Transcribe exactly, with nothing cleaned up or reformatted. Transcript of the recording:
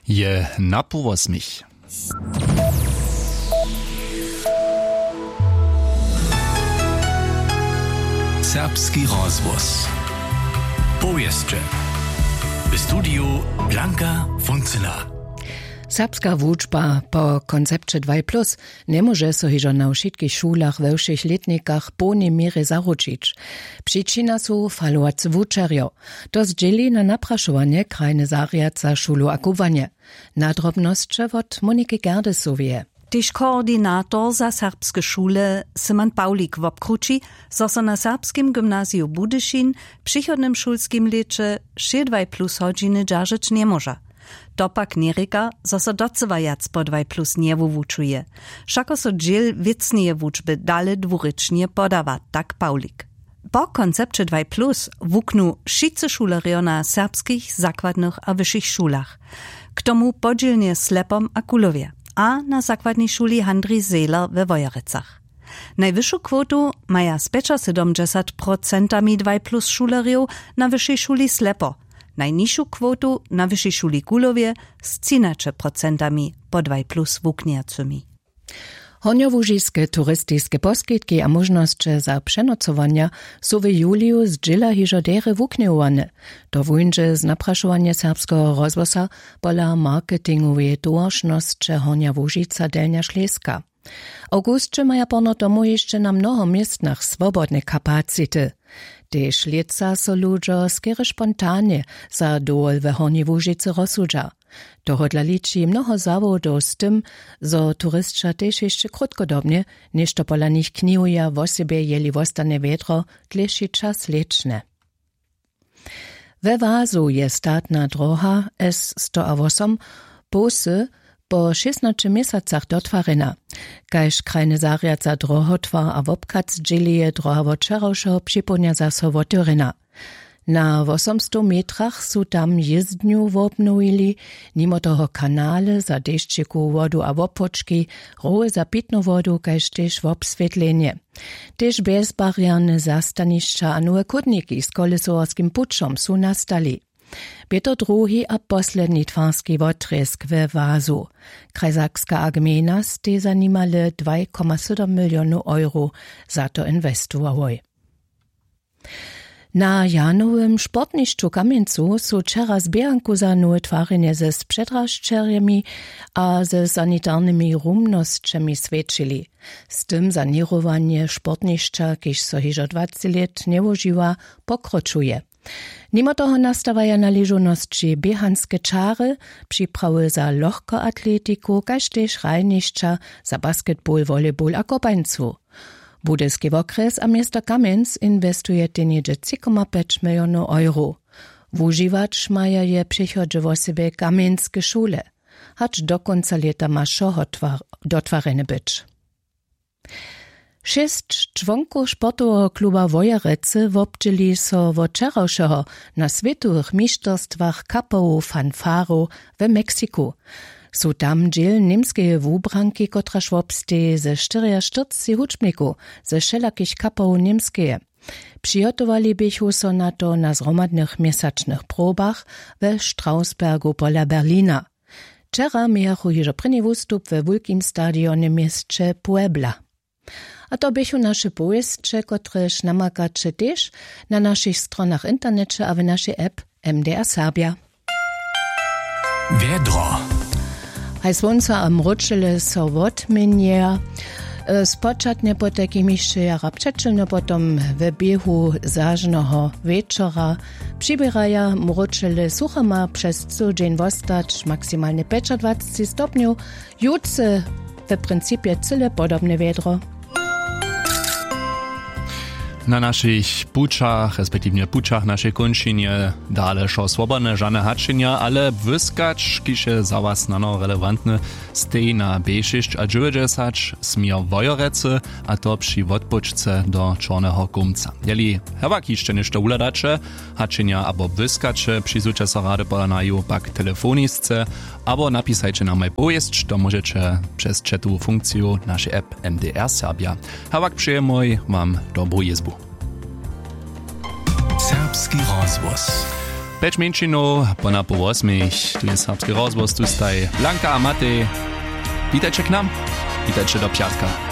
Je na połosmich. Serbski rozhłos. Powěsće. W studiju Blanka Funcyna. Serbska wučba po koncepće dwaj plus njemóže so hižo na wšitkich šulach we wšěch lětnikach w połnej měrje zaručić. Přičina su falowace wučerjo. To zdźěli na naprašowanje krajny zarjad za šulu a kubłanje. Nadrobnosće wot Moniki Gerdesoweje. Tež koordinator za serbske šule Simon Pawlik wobkrući, zo so na Serbskim gymnaziju Budyšin w přichodnym šulskim lěće wšě dwaj plus hodźiny dźeržeć njemóža. To pak njerěka, zo so docyła wjac po dwaj plus njewuwučuje. Wšako so dźěl wěcneje wučby dale dwurěčnje podawa, tak Pawlik. Po koncepće dwaj plus wuknu wšitcy šulerjo na serbskich zakładnych a wyšich šulach. K tomu podźělnje w Slepom a Kulowje a na zakładnej šuli Handrij Zehler we Wojerecach. Najwyšu kwotu maja z pjećasydomdźesat procentami dwaj plus šulerjow na wyšej šuli Slepo, najnižšu kwotu na wyšej šuli Kulowje z třinaće procentami po dwaj plus wuknjacymi. Hornjołužiske turistiske poskitki a móžnosće za přenocowanja su w juliju zdźěla hižo derje wuknjowane. To wuńdźe z naprašowanja Serbskeho rozhłosa pola marketingoweje towaršnosće Hornja Łužica, Delnja Šleska. W awgusće maja porno tomu hišće na mnoho městnach swobodne kapacity. Tež lětsa so ludźo skerje spontanje za dowol we Hornjej Łužicy rozsudźa. Tohodla liči mnoho zawodow z tym, zo turisća tež hišće krótkodobnje něšto pola nich knihuja, wosebje jeli wostanje wjedro dlěši čas lěćne. We Wazu je statna droha S sto a wosom połsy po šěsnaće měsacach dotwarjena. Kaž krajny zarjad za drohotwar a wobchad zdźěli, je droha wot wčerawšeho připołdnja zaso wotewrjena. Na wosomstow metrach su tam jězdnju wobnowili, nimo toho kanale za dešćikowu wodu a wopłočki, rowy za pitnu wodu kaž tež wobswětlenje. Tež bjezbarjerne zastanišća a nowe chódniki z kolesowarskim pućom su nastali. Bě to druhi a posledni twarski wotrězk we Wazu. Krajsakska a gmejna stej za nimale dwaj koma sydom milionow euro za to inwestowałoj. Na Janowym sportnišću w Kamjencu su wčera z běhanku za nowe twarjenje ze spředrasćerjemi a ze sanitarnymi rumnosćemi swjećili. Z tym saněrowanje sportnišća, kiž so hižo dwaceći lět njewužiwa, pokročuje. Nimo toho nastawaja na ležownosći běhanske čary, připrawy za lochkoatletiku kaž tež hrajnišća za basketball, volleyball a kopańcu. Budyski wokrjes a město Kamjenc inwestujetej něhdźe tři koma pjeć milionow euro. Wužiwać maja je w přechodźe wosebje kamjenske šule. Hač do kónca lěta ma wšoho twar-, dotwarjene być. Šěsć čłonkow sportoweho kluba Wojerecy wobdźěli so wot wčerawšeho na swětowych mišterstwach kapowow fanfarow w Meksiku. Su tam dźěl němskeje wubranki, kotraž wobsteji ze štyriaštyrceći hudźbnikow ze wšelakich kapowow Němskeje. Přihotowali běchu so na to na zhromadnych měsačnych probach we Strausbergu pola Berlina. Wčera mějachu hižo prěni wustup we wulkim stadionje w měsće Puebla. A to běchu naše powěsće, kotrež namakaće tež na našich stronach w interneće a w našej app M D R Serbja. Wjedro. Haj słónco a mróčele so wotměnjeja. E, spočatnje potajkim hišće jara přećelno, potom w běhu zažneho wječora přiběraja mróčele suchama přez cyły dźeń wostać, maksimalnje pjećadwaceći stopnjow. Jutře w principje cyle podobne wjedro. Na našich pućach, respektiwnje pućach našej kónčinje dale wšo swobodne, žane hačenja, ale błyskać, kiž je za was snano relewantny, steji na B šěsć a dźewjećdźesat směr Wojerecy, a to při wotpočce do Čorneho Kołmca. Jeli hewak hišće něšto wuhladaće, hačenja abo błyskaće, přizwuće so rady pola naju pak telefonisce abo napisajće nam aj powěsć, to móžeće přez chatowu funkciju našej app M D R Serbja. Hewak přejemoj wam dobru jězbu. Serbski rozhłos. Pjeć mjeńšinow po napoł wosmich, tu je serbski rozhłos, tu staj Blanka a Matej. Witajće k nam, witajće do pjatka.